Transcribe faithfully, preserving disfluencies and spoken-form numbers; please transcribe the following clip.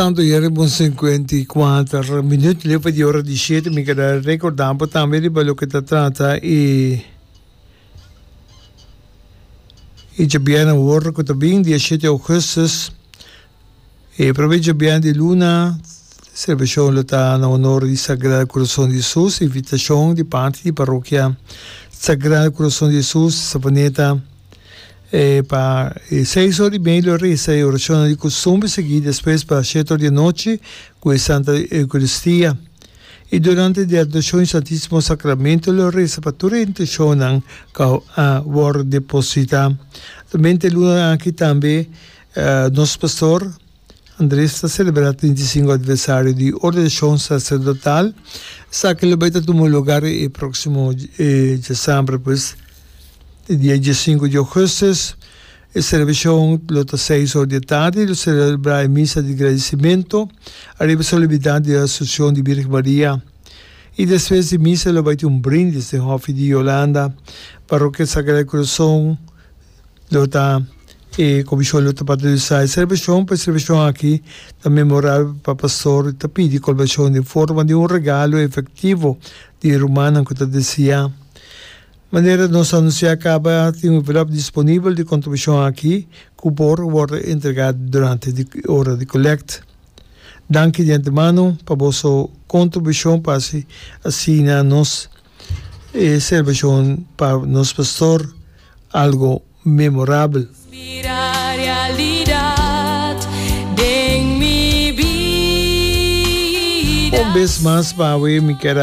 Tanto ya riba un sinkuenta i kuater minüt leu di ora di shete. Mi ke rekordá bo tambe riba loke ta trata e e djabièrnè awor ku ta bin, dia shete ougùstùs, e promé djabièrnè di luna, selebrashon lo ta na honor di Sagrado Kurason di Hesus. Invitashon di parti di Parokia Sagrado Kurason di Hesus Savaneta e pa seis or i mei lo resa e orashon di kustumber, sigui despues pa shete or di anochi ku e Santa Eukaristia. I durante di adorashon di Santísimo Sakramento lo resa pa tur e intenshonnan ku a wòrdu depositá. Tambe luna aki tambe nos pastor Andrés ta selebrá trinta i sinku aniversario di ordenashon saserdotal. Esaki lo bai ta tuma lugá e próksimo djasambre, pues dia diesinku di ougùstùs. E selebrashon lo ta seis or di tardi, lo selebrá e misa di gradisimentu ariba solemnidat di Asunshon di Birgen Maria. I despues di misa lo bai tin un brindis den Hòfi di Yolanda. Parokia Sagrado Kurason lo ta e komishon lo ta patrosiná e selebrashon. Pa e selebrashon aki ta memorabel pa pastor, ta pidi kolaborashon den forma di un regalo efektivo di rumannan ku ta deseá. Manera nos a anunsiá kaba, tin un envelòp disponibel di kontribushon aki ku por wòrdu entregá durante di ora di kolèkt. Danki di antemano pa boso kontribushon pa asina nos e selebrashon pa nos pastor algu memorabel. Bira realidat den mi bida. Un bes mas pa mi ke